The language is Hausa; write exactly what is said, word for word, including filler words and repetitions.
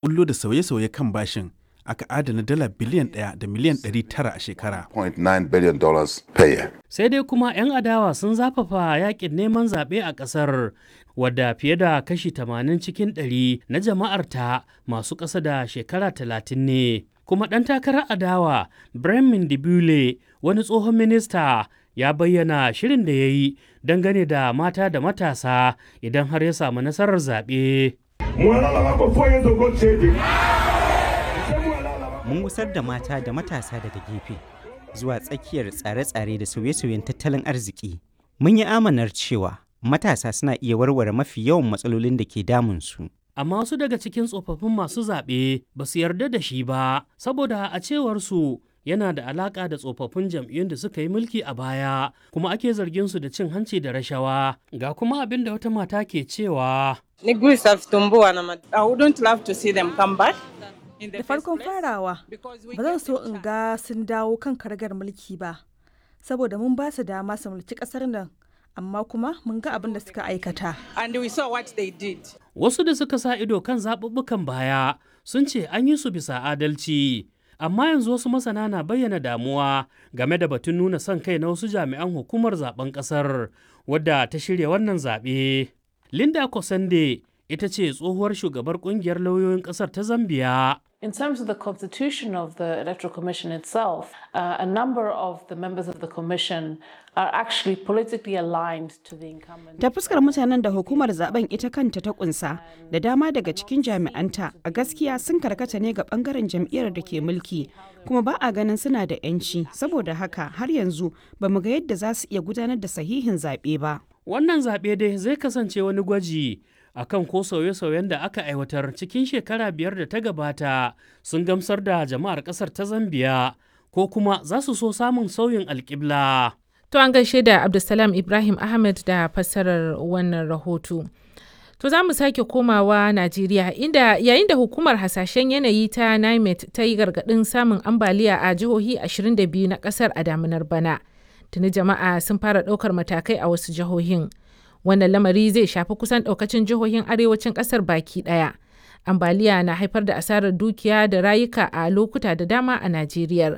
Bullo da sauye-sauye kan bashin, aka adana dala biliyan ɗaya da miliyan ɗari tara a shekara. zero point nine billion dollars per year. Sai dai kuma 'yan adawa sun zafafa yakin neman zaɓe a ƙasar, wadda fiye da kashi tamanin cikin ɗari na jama'arta masu ƙasa da shekara talatin ne. Kuma ɗan takarar adawa Bremen Dibule, wani tsohon minista, ya bayyana shirin da ya yi dangane da mata da matasa idan har ya samu nasarar zaɓe. Mun gusar da mata da matasa daga gefe zuwa tsakiyar tsare-tsare da sauye-sauyen tattalin arziki. Mun yi amanar cewa matasa suna iya warware mafi yawan matsalolin da ke damunsu. Amma wasu daga cikin tsofaffin masu zaɓe ba su yarda da shi ba, saboda a cewar su yana da alaƙa da tsofaffin jam'iyyun da suka yi mulki a baya, kuma ake zargin su da cin hanci da rashawa. Ga kuma abin da wata mata ke cewa. I wouldn't love to see them come back. Da farkon farawa, ba zan so in ga sun dawo kan karagar mulki ba, saboda mun ba su dama su mulki kasar nan, amma kuma mun ga abin da suka aikata. And we saw what they did. Wasu da suka sa ido kan zaɓuɓɓukan baya sun ce an yi su bisa adalci. Amma yanzu wasu masana na bayyana damuwa game da batun nuna son kai na wasu jami'an hukumar zaben ƙasar wadda ta shirya wannan zaɓe. Linda Kosande ita ce tsohuwar shugabar ƙungiyar lauyoyin ƙasar ta Zambiya. In terms of the constitution of the Electoral Commission itself, uh, a number of the members of the Commission are actually politically aligned to the incumbent. Ta fuskar mutanen da hukumar zaben ita kanta ta kunsa, da dama daga cikin jami'anta a gaskiya sun karkata ne ga bangaren jam'iyyar da ke mulki, kuma ba a ganin suna da 'yanci, saboda haka har yanzu ba mu ga yadda za su iya gudanar da sahihin zaɓe ba. Wannan zaɓe dai zai kasance wani gwaji akan ko sauye-sauyen da aka aiwatar cikin shekara biyar da ta gabata sun gamsar da jama'ar kasar ta Zambiya ko kuma za su so samun sauyin alƙibla. To, an gaishe da Abdulsalam Ibrahim Ahmed da fassarar wannan rahoto. To, za mu sake komawa Najeriya, inda yayin da hukumar hasashen yanayi ta NIMET ta yi gargaɗin samun ambaliya a jihohi ashirin da biyu na ƙasar a daminar bana. Tuni jama'a sun fara ɗaukar matakai a wasu jihohin. Wannan lamari zai shafi kusan ɗaukacin jihohin arewacin ƙasar baki ɗaya. Ambaliya na haifar da asarar dukiya da rayuka a lokuta da dama a Najeriya.